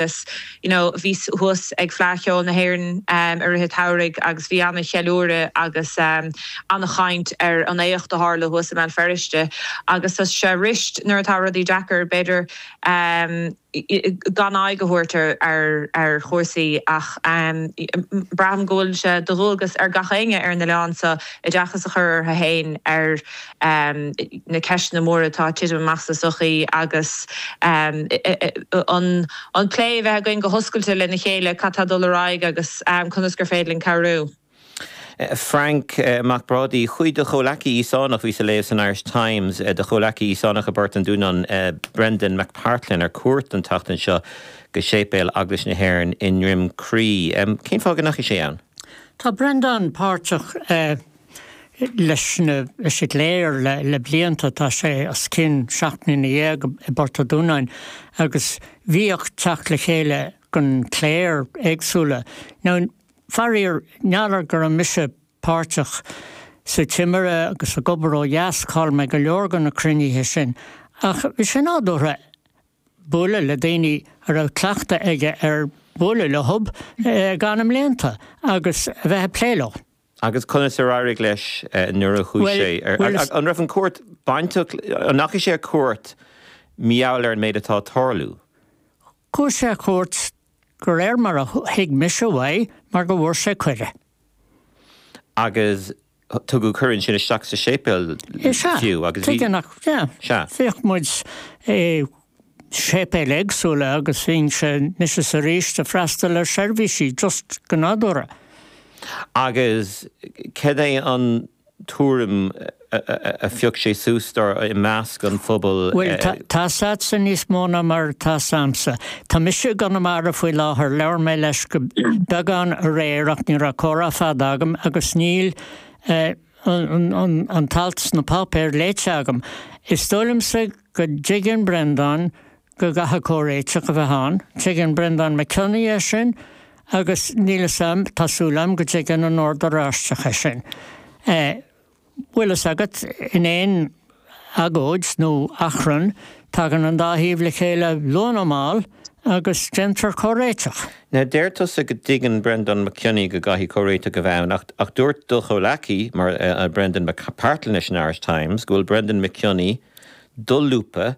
Agus you know bhíos thuas ag Fleadh Cheoil na hÉireann i rith an tsamhraidh agus bhí ana-cheiliúradh agus ana-chaint ar an éacht a tharla thuas i mBéal Feirste agus tá sé rist nuair atá rudaí deacair b'fhéidir gan aghaidh a thabhairt ar chúrsaí ach braithim go bhfuil sé de dhualgas ar gach éinne ar an oileán seo oideachas a chur orthu féin ar na ceisteanna móra atá ag titim amach sa sochaí agus an plé a bheith againn go hoscailte lena chéile cad tá ag dul ar aghaidh agus conas gur féidir linn cabhrú. Frainc Mac Brádaigh, chuaigh do chomhleacaí Íosánach, bhíos ag léamh san Irish Times, do chomhleacaí Íosánach i bPort an Dúnáin, Brendan McPartlin, ar cuairt an tseachtain seo go séipéal Eaglais na hÉireann i nDroim Crí. Cén fáth go ndeachaigh sé ann? Tá Brendan páirteach leis na, leis an gcléir le blianta, tá sé os cionn 17 mbliana i bPort a' Dúnáin agus bhíodh teacht le chéile den chléir éagsúla. Now, faraor, n'fheadar go raibh mise páirteach sa Timire agus ag obair ó dheas, chaill mé go leor de na cruinnithe sin, ach bhí sé nádúrtha bualadh le daoine a raibh cleachtadh aige ar bualadh leothub i na mblianta agus a bheith ag plé leo. Agus conas ar éirigh leis nuair a chuaigh sé ar, an raibh an cuairt bainteach, an ndeachaigh sé ar cuairt mar gheall ar an méid atá ag tarlú? Chuaigh sé ar cuairt de réir mar a thuig mise uaidh mar go bhfuair sé cuireadh. Agus tugadh cuireadh ansin isteach sa séipéal fiú agus bhí. Tuige nach, yeah. Sea. Bhíodh muid i séipéil éagsúla agus bhínnse anois is arís ag freastal ar seirbhísí just go nádúrtha. Agus cad é an tuairim a phioc sé suas dar i measc an phobail? Bhuel, tá's a'dsa níos mó ná mar atá's a'msa. Tá mise i gConamara faoi láthair, labhair mé leis go beagán aréir ach ní raibh comhrá fada agam agus níl an t-alt sna páipéir léite agam. Is dóigh liomsa go dtuigeann Breandán go gcaithfidh comhréiteach a bheith ann. Tuigeann Breandán Mac Cionnaith é sin agus níl fhios a'm, tá súil a'm go dtuigeann an Ord Oráisteach é sin. Bhfuil fhios agat, in aon agóid nó achrann, tagann an dá thaobh le chéile luath nó mall agus déantar comhréiteach. Now, deir tusa go dtuigeann Breandán Mac Cionnaith go gcaithfidh comhréiteach a bheith ann, ach dúirt do chomhleacaí, mar Brendan McPartlin leis an Irish Times, go bhfuil Brendan Mac Cionnaith dolúbtha,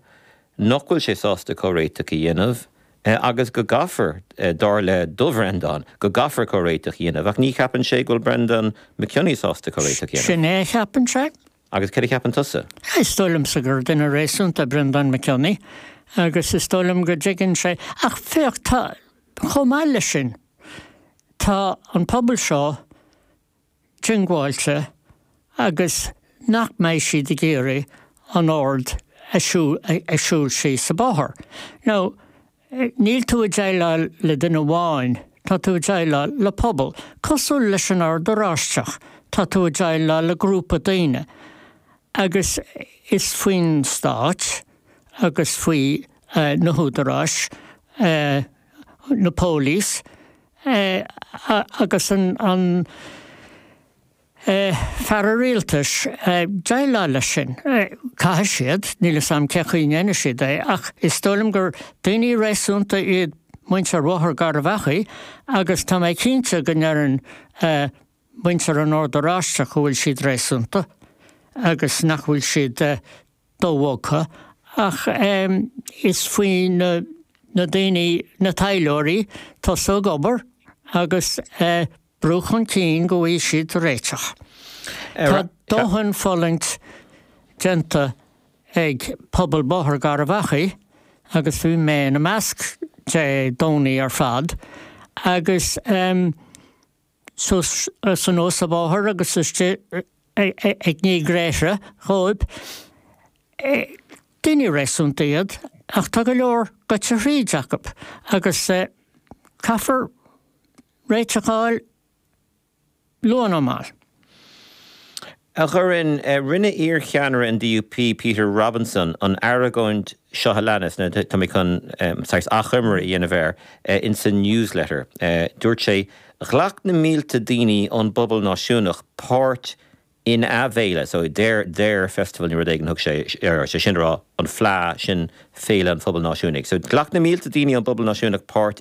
nach bhfuil sé sásta comhréiteach a dhéanamh agus go gcaithfear, dar le do Bhreandán, go gcaithfear comhréiteach a dhéanamh. Ach ní cheapann sé go bhfuil Brendan McKionney sásta comhréiteach a dhéanamh. Sin é a cheapann sé. Agus céard a cheapann tusa? Is dóigh liomsa gur duine réasúnta Breandán Mac Cionnaith agus is dóigh liom go dtuigeann sé. Ach féach, tá, chomh maith leis sin, tá an pobal seo diongbháilte agus nach mbeidh siad ag iarraidh an Ord a siúl síos an bóthar. Now, níl tú ag déileáil le duine amháin, tá tú ag déileáil le pobal. Cosúil leis an Ord Oráisteach, tá tú ag déileáil le grúpa daoine. Agus is faoin Stát agus faoi na húdaráis, na póilíní, agus an fear rialtais déileáil leis sin. Caithfidh siad, níl 'fhios a'm cé chaoi a ndéanfaidh siad é, ach is dóigh liom gur daoine réasúnta iad muintir Bhóthar Gharbh Achaidh agus tá mé cinnte go ndeireann muintir an Ord Oráisteach go bhfuil siad réasúnta agus nach bhfuil siad dobhogtha ach is faoi na daoine, na taidhleoirí, tosú ag obair agus brú chun cinn go bhfaighidh siad réiteach. Tá dóthain fulaingt déanta ag pobal Bóthar Gharbh Achaidh agus bhí mé ina measc Dé Domhnaigh ar fad agus suas anuas an bóthar agus istigh ag ní gréithre dhóibh. Daoine réasúnta iad ach tá go leor goite thríd acu agus caithfear réiteach a fháil luath nó mall. A Dhoireann, rinne iar-cheannaire an DUP, Peter Robinson, an argóint seo a leanas, nó tá mé chun saghas achoimre a dhéanamh air, insa Newsletter. Dúirt sé, Ghlac na mílte daoine ón bpobal náisiúnach páirt. Ina bhféile, so their, their festival nó rud éigin thug sé air, sé sin a rá an Fleadh, sin Féile an Phobail Náisiúnaigh. So ghlac na mílte daoine ón bpobal náisiúnach páirt.